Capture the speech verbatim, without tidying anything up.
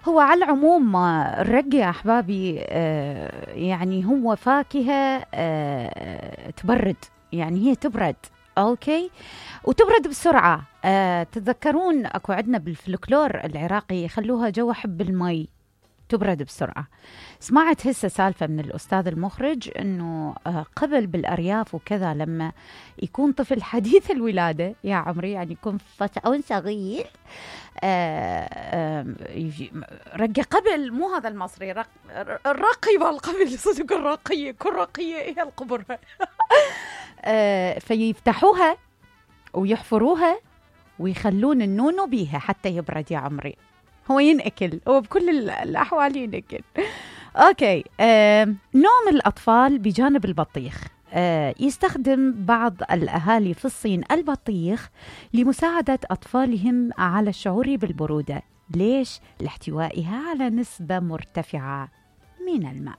هو على العموم آه، الرق يا أحبابي آه، يعني هو فاكهة آه، تبرد، يعني هي تبرد أوكي، وتبرد بسرعة. آه، تتذكرون أكو عندنا بالفلكلور العراقي يخلوها جو حب المي، تبرد بسرعة. سمعت هسه سالفة من الأستاذ المخرج أنه آه، قبل بالأرياف وكذا لما يكون طفل حديث الولادة يا عمري، يعني يكون فتاة صغير آه، آه، يجي- رقي قبل، مو هذا المصري، رق الرقي والقبل صدق، الرقية كل رقية هي القبر آه، فيفتحوها ويحفروها ويخلون النونو بيها حتى يبرد يا عمري. هو ينأكل، هو بكل ال- الأحوال ينأكل. أوكي. آه، نوم الأطفال بجانب البطيخ. آه، يستخدم بعض الأهالي في الصين البطيخ لمساعدة أطفالهم على الشعور بالبرودة. ليش؟ لاحتوائها على نسبة مرتفعة من الماء.